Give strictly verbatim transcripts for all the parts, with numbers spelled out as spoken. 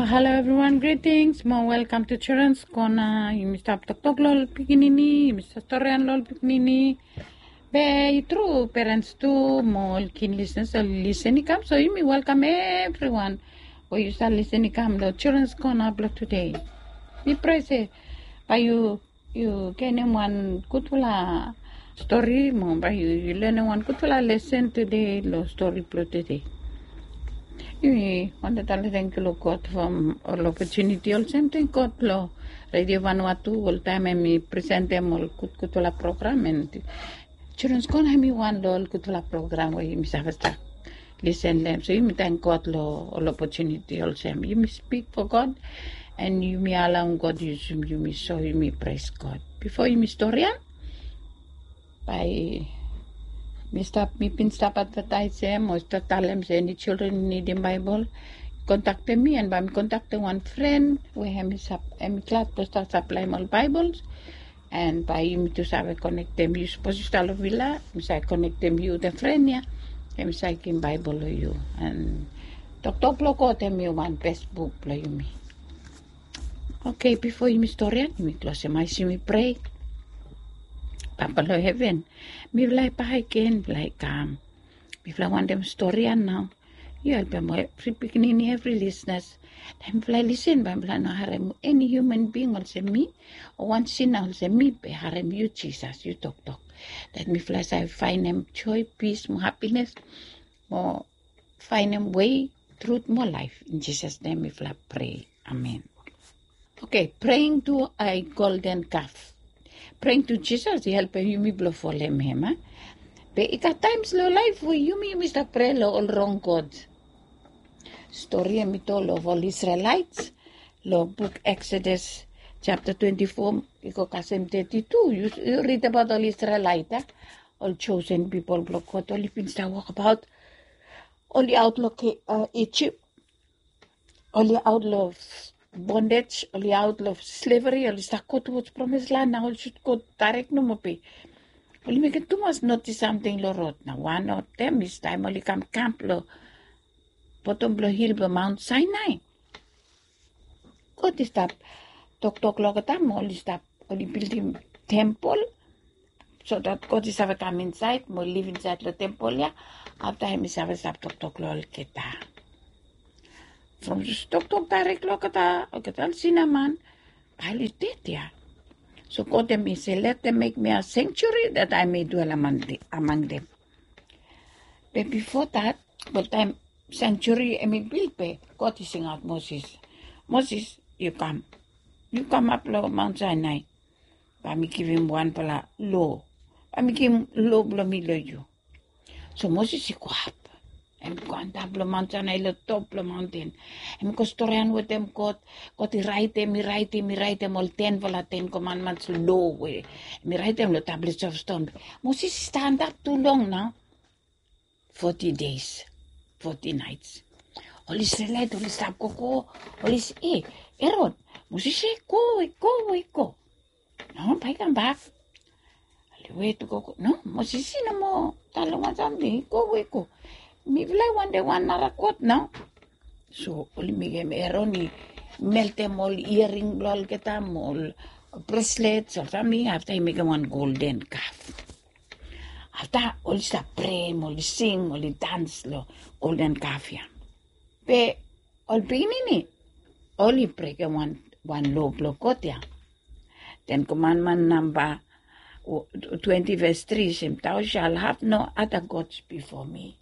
Hello everyone, greetings mo welcome to Children's Corner. Yumi stap toktok lo ol pikinini, yumi stap storian lo ol pikinini. Be i tru, parents tu mo ol keen listeners oli listen i kam, so yumi welcome everyone we yu stap listen i kam lo Children's Corner blong today. Mi pray se bae yu yu genem wan gudfala stori mo bae yu lenem wan gudfala lesen tede lo stori blong tede. Yumi wantem talem tangkiu lo God from ol opotuniti olsem. Tang God lo Radio Vanuatu oltaem hemi presentem ol gudgudfala program, and Children's Corner hemi wan lo ol gudfala program we yumi save stap lisen lo hem. So yumi tang God lo ol opotuniti olsem. Yumi speak for God, and yumi alaem God yusum yumi, so yumi pres God. Bifo yumi storian, bae mi stap, mi bin stap advetaesem o stap talem se eni children i nidim Baebol, kontaktem mi, and bae mi kontaktem wan fren we hemi sap, hemi glad blong stap saplaem ol Baebols. And bae yumi tu save konektem yu, sapos yu stap lo vila, mi save konektem yu wetem fren ya, hemi save givim Baebol lo yu. And Toktok blong God hemi wan bes buk blong yumi. Oke, bifo yumi storian, yumi klosem ae, yumi prea. Papa lo heven, mifala i bakegen, mifala i kam. Mifala wantem storian nao. Yu helpem evri pikinini, evri listeners. Taem mifala i lisen, bae mifala no harem eni human being olsem mi, o wan sina olsem mi, be harem yu Jisas, yu toktok. Dat mifala save faenem joe, pis mo hapines, mo faenem wei, trut mo laef. In Jisas nem mifala prea. Amen. Oke, praying to a golden calf. Praying to Jisas i helpem yumi blong folem hem, a? Be i gat taems lo laef we yumi, yumi stap prea lo ol rong god. Stori hemi tol lo ol Isrelaet lo buk Eksodas japta twenti fo i go kasem teti tu. Yu ridim abaot ol Isrelaet, a? Ol josen pipol blong God, oli bin stap wokbaot. Oli aot lo Ijip. Oli aot lo bondej, oli aot lo sleveri, oli stap go towards promised land nao, oli sud go daerek nomo be oli mekem tumas notis samting lo rod. Nao wan of them is taem oli kam kamp lo bottom blo hil blo Mount Sinai. God i stap toktok lo olgeta mo oli stap, oli bildim tempol, so that God i save kam insaed mo liv insaed lo tempol ya. Afta hem i save stap toktok lo olgeta. From toktok daerek lo olgeta, olgeta ol sinaman bae oli ded ya. So God hem i se, "Let them make me a sanctuary that I may dwell among the, among them." Be bifo dat, oltaem sanctuary hem i bil be God i singaot Moses, "Moses, yu kam. Yu kamap lo Mount Sinai. Bae mi givim wanfala lo. Bae mi givim lo blo mi lo yu." So Moses i go ap. Hem i go antap lo Mount Sinai, lo top blo maonten. Hem i go storian wetem God. God i raetem, i raetem, i raetem ol tenfala Ten Commandments lo we hem i raetem lo tablets of stone. Moses i stap antap tu long nao. Forty days, forty nights. Ol Isrelaet oli stap gogo, oli se, "E, Eron, Moses i go, i go, i go." "No, bae i kambak." Oli wet i gogo. "No, Moses i no moa talem wan samting, i go, i go. Mifala i wantem wan nara god nao." So oli mekem Eron i meltem ol iering blo olgeta mo ol bracelets, ol samting, afta i mekem wan golden calf. Afta oli stap prea mo oli sing, oli dans lo golden calf ya. Be ol pikinini oli brekem wan, wan lo blo God ya. Ten Commandment namba twenti ves tri i se, "Thou shalt have no other gods before me."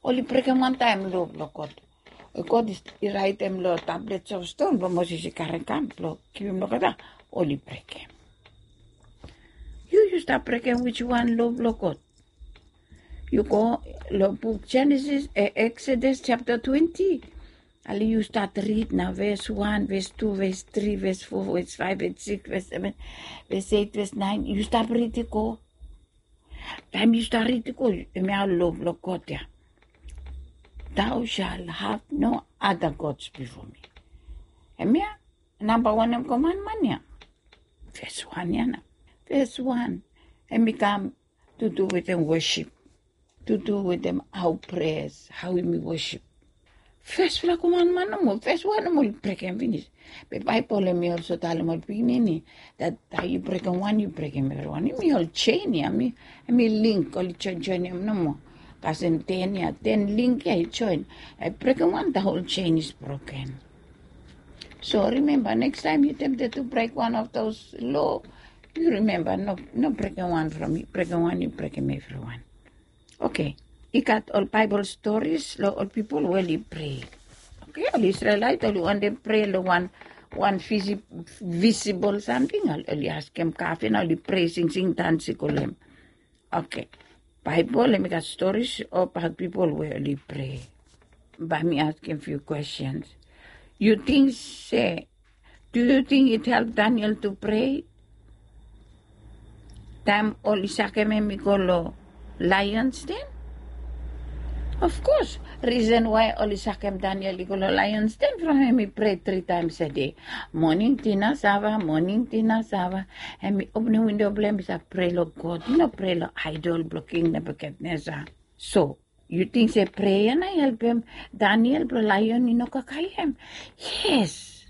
Oli brekem wantaem lo blo God. God i raetem lo tablets of stone blo Moses i karem kam blo givim lo olgeta, oli brekem. Yu, yu stap brekem wiswan lo blo God? Yu go lo buk Genesis, e, Exodus japta twenti. Ale yu stat rid nao, ves wan, ves tu, ves tri, ves fo, ves faef, ves sikis, ves seven, ves eit, ves naen. Yu stap rid i go. Taem yu stap rid i go, hemia lo blo God ya. "Thou shalt have no other gods before me." Hemia namba wan komanman ya. Ves wan ya nao. Ves wan. Hem i kam tu du wetem wosip. Tu du wetem hao prea, hao yumi wosip. Fesfala komanman nomo, fes wan nomo oli brekem finis. Be Baebol hemi olsem talem ol pikinini dat taem yu brekem wan yu brekem evriwan. Hemi ol jen ya, hemi link, oli joinjoinem nomo. Kasem ten ya, ten link ya i join. Taem yu brekem wan, the whole chain is broken. So remember, next time you tempted to break one of those law, you remember, no, no breaking one from you, breaking one, you breaking everyone. Okay. I gat ol Bible stories lo ol pipol we oli pray. Okay, ol Israelite oli wantem pray lo wan, wan visi-, visible something, oli askem kafe na oli pray, singsing, dansi kolem. Okay. Baebol hemi gat stories about pipol we oli pray. Bae mi askem few questions. Yu ting se, do you think it help Daniel to pray? Taem oli sakem hem i go lo lions den? Of course, reason why oli sakem Daniel i go lo lions den from hem i pray three times a day. Moning, dina, sava, moning, dina, sava. Hem i openem windo blong hem i save pray lo God, i no pray lo idol blong King Nebuchadnezzar. So yu ting se prea na i helpem Daniel blong lion i no kakae hem? Yes,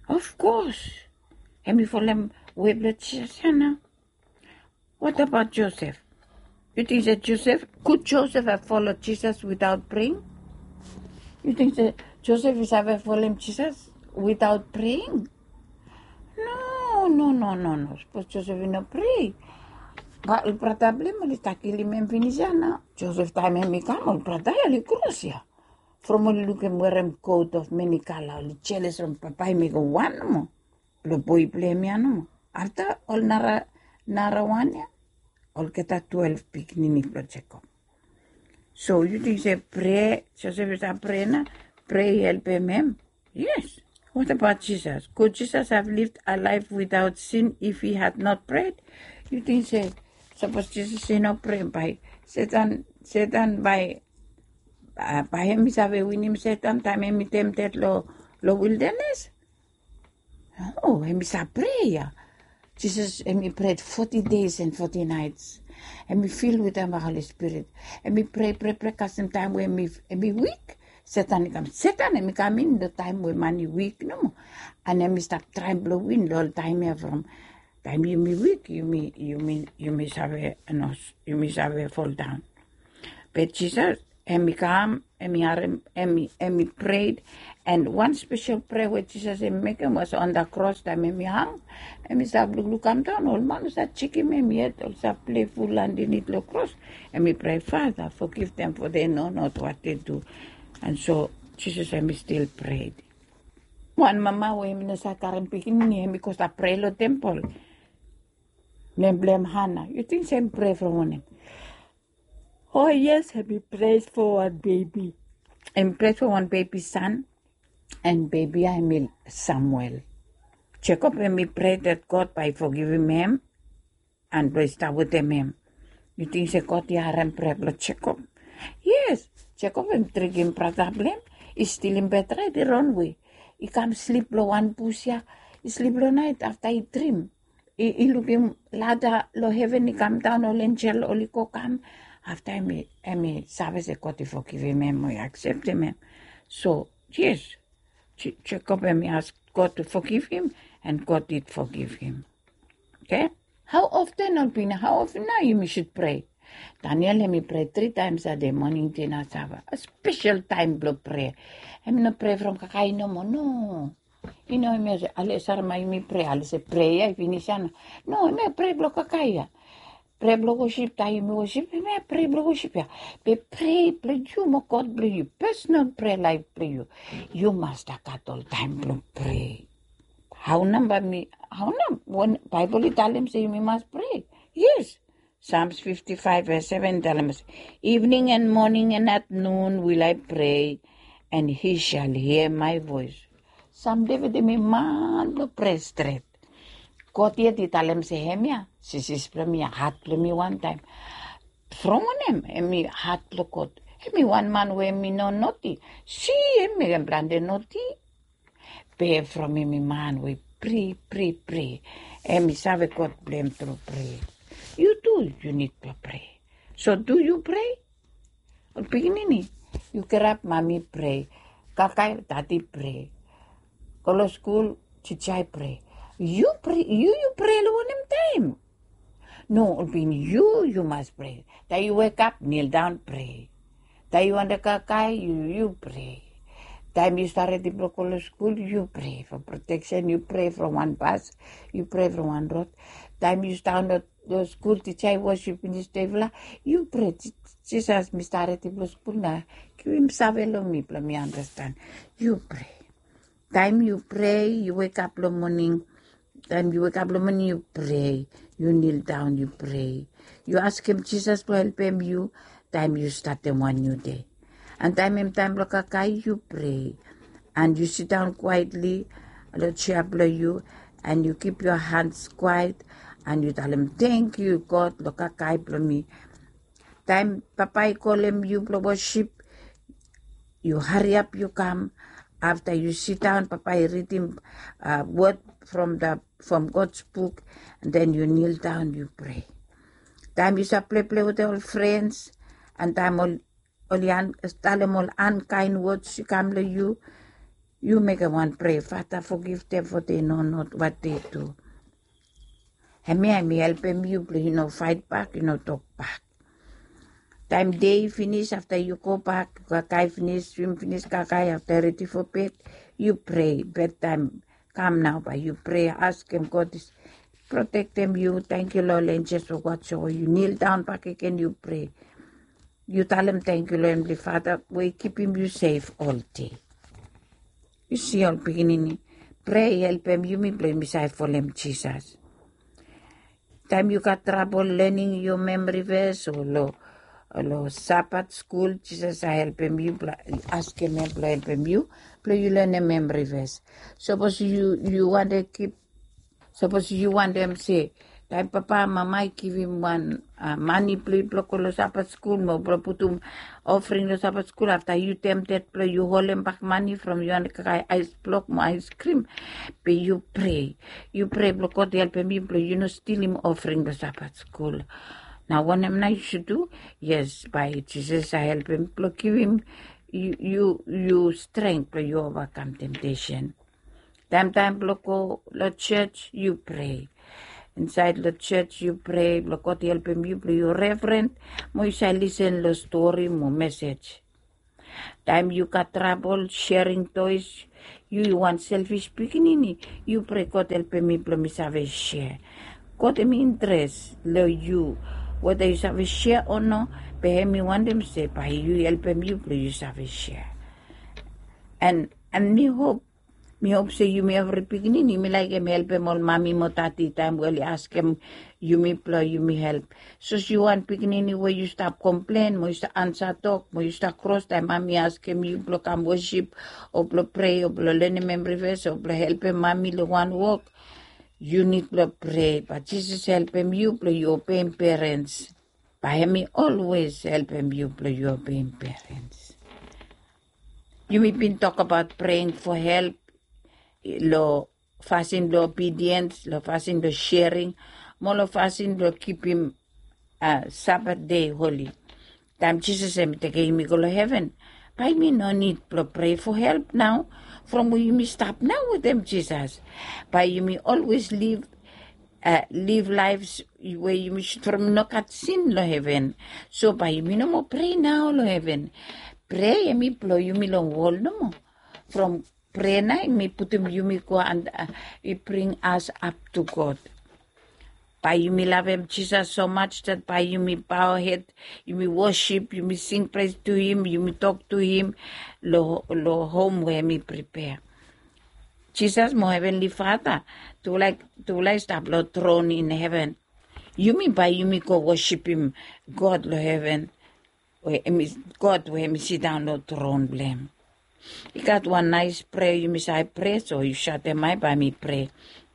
of course. Hem i folem we blong Jisas ya nao. What about Joseph? Yu ting se Joseph, could Joseph have followed Jesus without praying? Yu ting se Joseph i save folem Jisas without praying? No, no, no, no, no. Sapos Joseph i no prea, bae ol brata blong hem oli stap kilim hem finis ya nao. Joseph taem hem i kam, ol brata ya oli kros ya. From oli lukim hem werem coat of many color, oli jeles from papa i mekem wan nomo blong boe blong hem ya nomo. Afta ol nara, nara wan ya, olgeta twelve pikinini blong Jekob. So yu ting se prea, Joseph i save prea na, prea i helpem hem? Yes. What about Jesus? Could Jesus have lived a life without sin if he had not prayed? Yu ting se sapos Jisas i no prea, bae Setan, Setan bae, a, bae hem i save winim Setan taem hem i tempted lo, lo wildanes? No, hem i save prea. Jisas hem i prea forty days and forty nights. Hem i fill wetem Holy Spirit. Hem i prea, prea, prea, kasem taem we hem i, hem i wik, Setan i kam. Setan hem i kam in lo taem we man i wik nomo. And hem i stap traem blong win lo ol taem ya from taem yumi wik, yumi, yumi, yumi save, no, yumi save foldaon. Be Jisas hem i kam, hem i harem, hem i, hem i prea. And wan spesel prea we Jisas hem i mekem was on the cross taem hem i hang. Hem i stap lukluk kamdaon, ol man oli save jekem hem yet, oli save playful andanit lo cross. Hem i prea, Father, forgive them, for they know not what they do. And so Jisas hem i stil prea. Wan mama we hem i no save karem pikinini, hem i go stap prea lo tempol. Nem blong hem Hana. Yu ting se hem prea from wanem? Oh yes, hem i prea from wan bebi. Hem i prea from wan bebi san. And bebi ya hem i Samuel. Jekob hem i prea dat God bae i fogivim hem and blong i stap wetem hem. Yu ting se God i harem prea blong Jekob? Yes, Jekob hem treatem brata blong hem, i stilim betraet, i ronwe. I kam slip lo wan bus ya, i slip lo naet, afta i drim. I, i lukim lada lo heven i kamdaon, ol enjel oli go kam. Afta hem i, hem i save se God i fogivim hem, o i akseptem hem. So yes, Je-, Jekob hem i ask God to forgive him, and God did forgive him. Okay? Hao often, ol pikinini, hao often nao yumi should prea? Daniel hem i prea three times a day, moning, dina, sava. A spesel taem blong prea. Hem i no prea from kakae nomo, no. I no, hem i se, ale, sara ma yumi prea, ale se prea ya i finis ya nao. No, hem i prea blong kakae ya. Prea blong wosip taem yumi wosip, hem i prea blong wosip ya. Be prea blong yu mo God blong yu, personal prea laef blong yu, yu mas stap gat ol taem blong prea. Hao nao bae mi, hao nao, wen Baebol i talem se yumi mas prea? Yes. Psalms fifty-five verse seven i talem se, "Evening and morning and at noon will I pray, and he shall hear my voice." Sam Deved hem i man blong prea stret. God yet i talem se hemia, Jisas blong mi ya, hat blong mi wantaem. From wanem hem i hat blong God? Hem i wan man we hem i no noti. Si, hem i mekem plante noti. Be from hem i man we i prea, prea, prea. Hem i save God blong hem tru prea. Yu tu yu nid blong prea. So do yu prea? Ol pikinini, yu kirap, mami prea. Kakae, dadi prea. Go long skul, tija i prea. Yu prea, yu yu prea long wanem taem? No, olpin yu yu mas prea. Taem yu wekap, nildaon, prea. Taem yu wantem kakae, yu yu prea. Taem yu stat redi blong go long skul, yu prea from proteksen, yu prea from wan bas, yu prea from wan rod. Taem yu stat long skul, tija i wosip finis dei blong yu prea, Jisas, mi stat redi blong skul nao. Givim save long mi blong mi anastan. Yu prea. Taem yu prea, yu wekap long moning. Taem yu wekap long moning, yu prea. Yu nildaon, yu prea. Yu askem Jisas blong helpem yu taem yu statem wan niu dei. An taem hem taem blong kakae, yu prea. An yu sidaon kwaetli long jea blong yu, an yu kip yo hans kwaet, an yu talem, tangkiu God long kakae blong mi. Taem papa i kolem yu blong wosip, yu hariap yu kam. Afta yu sidaon, papa i ridim wod from God's buk, an den yu nildaon, yu prea. Taem yu save plepleplei wetem ol frens, an taem oli talem ol ankaen wods i kam long yu, yu mekem wan prea, Father, forgive them, for they know not what they do. Hemia hemi helpem yu blong yu no faet bak, yu no tokbak. Taem dei i finis, afta yu gobak, yu kakae finis, swim finis, kakae, afta redi fo bed, yu prea. Bedtaem kam nao, bae yu prea, askem God i protektem yu. Tangkiu long ol enjels we watch over yu. Nildaon bakegen, yu prea. Yu talem tangkiu long Heavenly Father we i kipim yu sef oldei. Yu si ol pikinini, prea i helpem yumi blong yumi save folem Jisas. Taem yu gat trabol lening yo memory verse o long Sabat skul, Jisas save helpem yu blong askem hem blong helpem yu blong yu lenem memory verse. Sapos yu wantem kip Sapos yu wantem se, taem papa, mama i givim wan mane blong yu blong go long Sabat skul mo blong putum ofring long Sabat skul, afta yu tempted blong yu holem bak mane from yu wantem kakae aes blok mo aes krim, be yu prea. Yu prea blong God i helpem yu blong yu no stilim ofring long Sabat skul. Nao wanem nao yu sud du? Yes, bae Jisas save helpem blong givim yu strength blong yu ovakam temptation. Taem taem blong go long jos, yu prea. Insaed long jos yu prea blong God i helpem yu blong yu reverent mo yu save lisen long stori mo mesej. Taem yu gat trabol sharing toys, yu wan selfis pikinini, yu prea, God helpem mi blong mi save share. God hemi interes long yu, weta yu save share o no, be hemi wantem se bae yu helpem yu blong yu save share. An mi hop Mi hop se yumi evri pikinini yumi laekem helpem ol mami mo dadi taem we oli askem yumi blong yumi help. Sapos yu wan pikinini we yu stap komplen mo yu stap ansa tok mo yu stap kros taem mami askem yu blong kam wosip o blong prea o blong lenem memory verse o blong helpem mami long wan wok, yu nid blong prea bae Jisas helpem yu blong yu obeim perens. Bae hemi olwes helpem yu blong yu obeim perens. Yumi bin tokbaot praying for help long fasin blong obedience, long fasin blong sharing, mo long fasin blong kipim Sabat dei holi. Taem Jisas hemi tekem yumi go long heven, bae yumi no nid blong prea for help nao, from we yumi stap nao wetem Jisas. Bae yumi olwes liv liv laef we yumi sud from i no gat sin long heven. So bae yumi no moa prea nao long heven. Prea hemi blong yumi long wol nomo. From prea nao hemi putum yumi go ant i bring as ap tu God. Bae yumi lavem Jisas so much dat bae yumi bao hed, yumi wosip, yumi sing pres tu him, yumi tok tu him long hom we hemi pripea. Jisas mo Heavenly Father tufala i stap long tron in heven. Yumi bae yumi go wosipim God long heven, God we hemi sidaon long tron blong hem. I gat wan naes prea yumi save prea, so yu satem ae bae mi prea.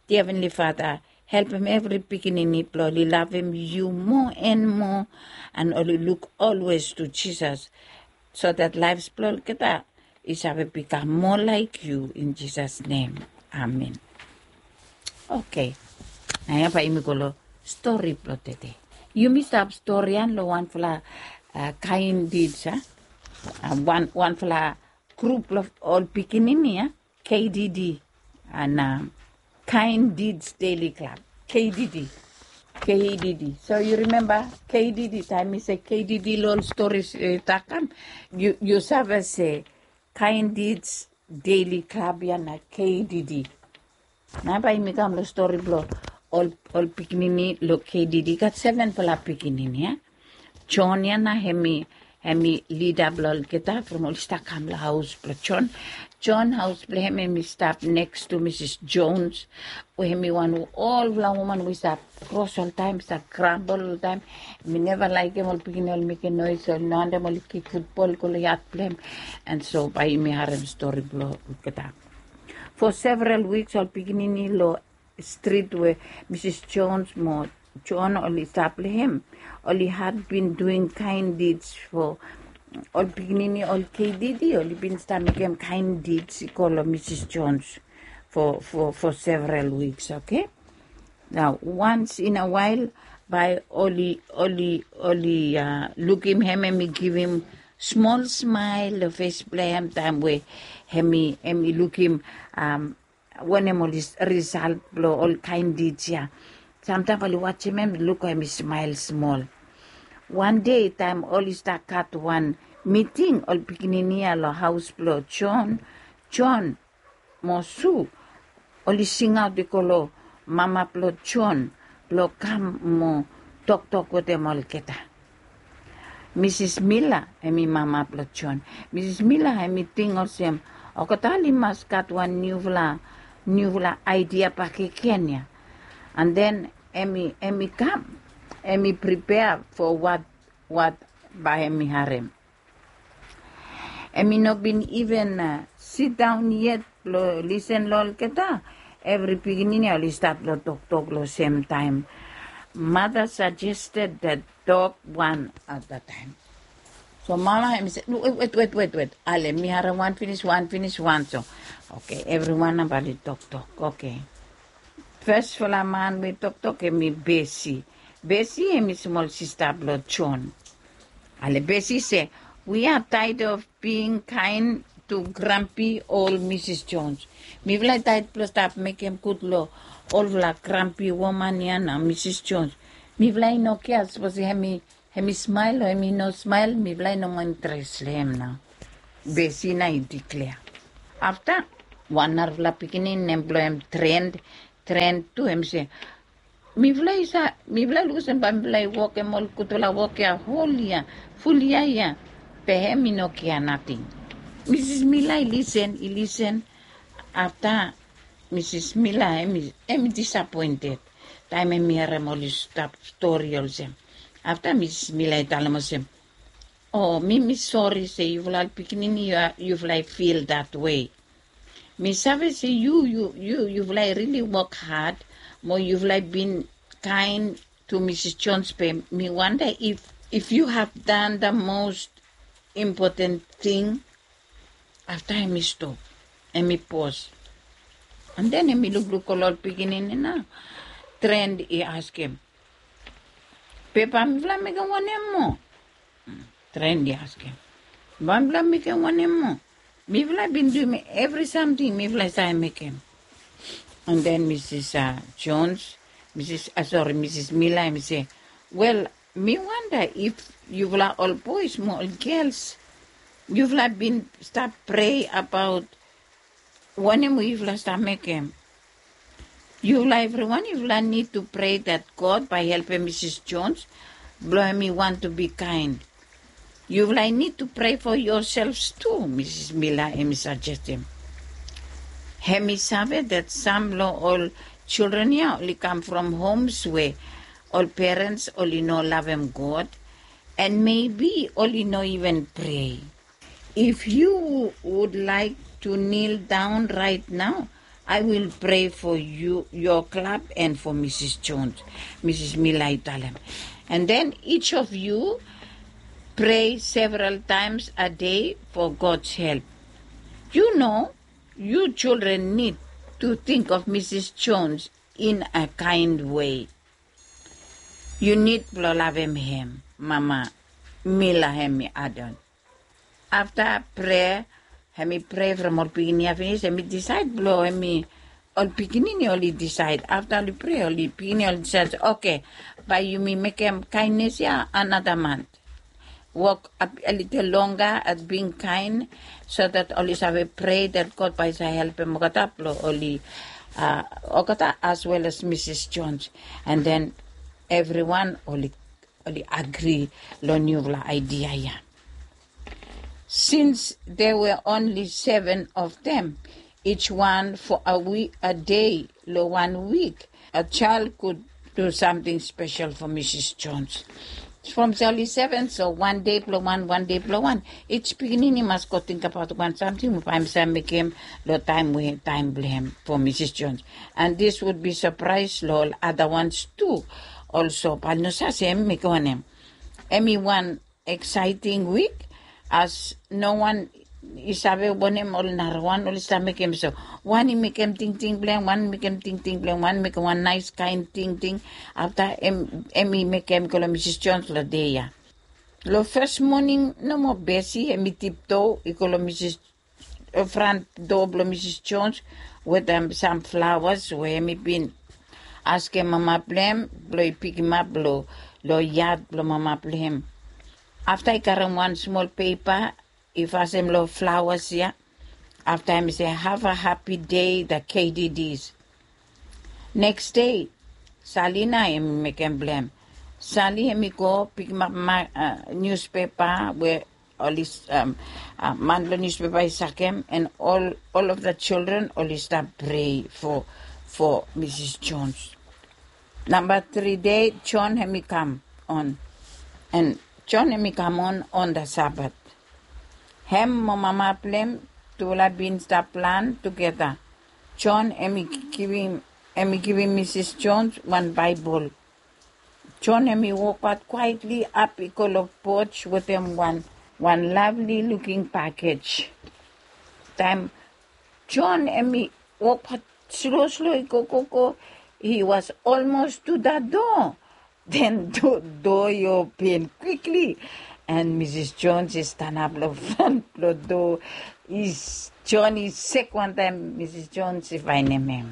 Dia Heavenly Father, helpem evri pikinini blong oli lavem yu moa an moa an oli luk olwes tu Jisas, so dat laef blong olgeta i save bikam moa laek yu, in Jisas nem. Amen. Oke. Naoia bae yumi go long stori blong tede. Yumi stap stori ia long wanfala kaen did, a, wanfala grup blong ol pikinini ya, K D D, and uh, Kind Deeds Daily Club, K D D. K D D. So you remember K D D, taem mi se K D D long ol stori, uh, takam, you, you save se Kind Deeds Daily Club ya na K D D. Nao bae yumi kam long stori blong ol, ol pikinini long K D D. Gat sevenfala pikinini ya. John ya nao hemi, hemi lida blong olgeta from oli stap kam long haos blong John. John haos blong hem hemi stap neks tu Misis Jones, we hemi wan we olfala woman we stap kros oltaem, stap grambol oltaem. Hemi neva laekem ol pikinini oli mekem noes, oli no wantem oli kik futbol go long yad blong hem. And so bae yumi harem stori blong olgeta. For several weeks ol pikinini long strit we Misis Jones mo John oli stap long hem, oli had been doing kind deeds for ol pikinini, ol K D D, oli bin stap mekem kind deeds i go long Misis Jones for, for, for several weeks, okay? Nao once in a while bae oli, oli, oli, uh, lukim hem, hemi givim smol smael long fes blong hem taem we hemi, hemi lukim, um, wanem ol risalt blong ol kind deeds ya. Samtaem oli wajem hem, luk hemi smael smol. Wan dei taem oli stap gat wan miting, ol pikinini ya long haos blong John, John mo Su, oli singaot i go long mama blong John blong kam mo toktok wetem olgeta. Misis Mila, hemi mama blong John. Misis Mila hemi ting olsem, olgeta oli mas gat wan niufala, niufala aedia bakegen ya. And then hemi, hemi kam, hemi pripea for wat, wat bae hemi harem. Hemi no bin iven, uh, sidaon yet blong lisen long olgeta. Evri pikinini oli stat long toktok long semtaem. Mother suggested that tok wan at a taem. So mama hemi se, wet, wet, wet, wet. Ale, mi harem wan finis, wan finis, wan so. Okay, evriwan nao bae oli toktok. Okay. Fesfala man we toktok hemi Besi. Besi hemi smol sista blong John. Ale, Besi se, we are tired of being kind to grumpy old Misis Jones. Mifala i taed blong stap mekem gud long olfala grumpy woman ya nao, Misis Jones. Mifala i no kea sapos hemi, hemi smael o hemi no smael, mifala i no moa interes long hem nao. Besi nao i diklea. Afta, wan narafala pikinini nem blong hem Trent, Trent tu hemi se, mifala i sa, mifala i luk olsem bae mifala i wokem ol gudfala wok ya hol yia, ful yia ya. Be hem i no kea nating. Misis Mila i lisen, i lisen. Afta Misis Mila hemi, hemi disapoented taem hemi harem oli stap stori olsem. Afta Misis Mila i talem olsem, o, mi, mi sori se yufala ol pikinini, yufala i fil datwe. Mi save se yu, yu, yu, yufala i rili wok had mo yufala i bin kaen to Misis Jones, be mi wanda if, if you have done the most important thing. Afta hemi stop, hemi pos. And then hemi lukluk ol, ol pikinini nao. Trent i askem, be bae mifala mekem wanem moa? Trent i askem, bae mifala mekem wanem moa? Mifala bin duim evri samting mifala i save mekem. And then Misis, uh, Jones, Misis, uh, sori, Misis Mila, hemi se, wel, mi wanda if yufala ol boes mo ol gels, yufala bin stap prea abaot wanem we yufala stap mekem. Yufala evriwan, yufala nid tu prea dat God bae helpem Misis Jones blong hemi wantem bi kaen. Yufala i nid tu prea fo yoselfs tu, Misis Mila hemi sajestem. Hemi save dat sam long ol jildren ya oli kam from homes we ol perens oli no lavem God, and maybe oli no iven prea. If you would like to kneel down right now, I will pray for you, your club, and for Misis Jones, Misis Mila i talem. And then each of you pray several times a day for God's help. You know, you children need to think of Misis Jones in a kind way. Yu nid blong lavem hem, Mama Mila hemi adon. Afta prea, Hem i prea from ol pikinini ya finis, hem i disaed blong hem i ol pikinini oli disaed afta oli prea ol pikinini oli disaed, oke, bae yumi mekem kaennes ya anada mant. Wok a litel longa at bing kaen, so dat oli save prea dat God bae i save helpem olgeta blong oli olgeta as wel as Misis Jones. And then evriwan oli oli agri long niufala aidia ya. Since there were only seven of them, each one for a week, a day long wan wik, a child could do something special for Misis Jones. From sali seven, so wan dei blong wan, wan dei blong wan, each pikinini mas go tingbaot wan samting we bae hem save mekem long taem we taem blong hem for Misis Jones. And this would be surprise long ol other ones too. Also bae oli no save se hem i mekem wanem. Hem i wan exciting week, as no wan i save wanem ol narawan oli stap mekem. So wan i mekem tingting blong hem, wan i mekem tingting blong hem, wan i mekem wan naes kaen tingting. Afta hem i mekem i go long Misis Jones long dei ya. Long fes moning nomo Besi hem i tiptoe i go long Misis fran doa blong Misis Jones wetem sam flawas we hem i bin askem mama blong hem blong i pikimap long yad blong mama blong hem. Afta i karem wan smol pepa i fasenem long flawas ya. Afta hem i se, have a happy day the K D Ds. Neks dei Sali nao hem i mekem blong hem. Sali hem i go pikimap niuspepa we oli man blong niuspepa i sakem, and all of the children oli stap prea for Misis Jones. Namba tri dei John hem i kam on, and John hem i kam on on the Sabbath. Hem mo mama blong hem tufala bin stap plan tugeta. John hem i givim Misis Jones wan Baebol. John hem i wokbaot kwaetli ap i go long poj wetem wan wan lavli luking pakej. Taem John hem i wokbaot slo slo i go go go, he was almost to the door. Den doa i open kwikli, and Misis Jones i stanap long fran blong doa. John i sek wantaem Misis Jones i faenem hem.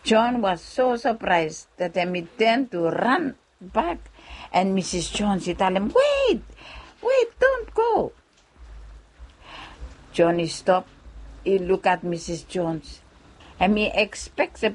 John was so surprise dat hem i ten tu ran bak, and Misis Jones i talem, wet, wet, don't go. John i stop i lukat Misis Jones. Hem i ekspek se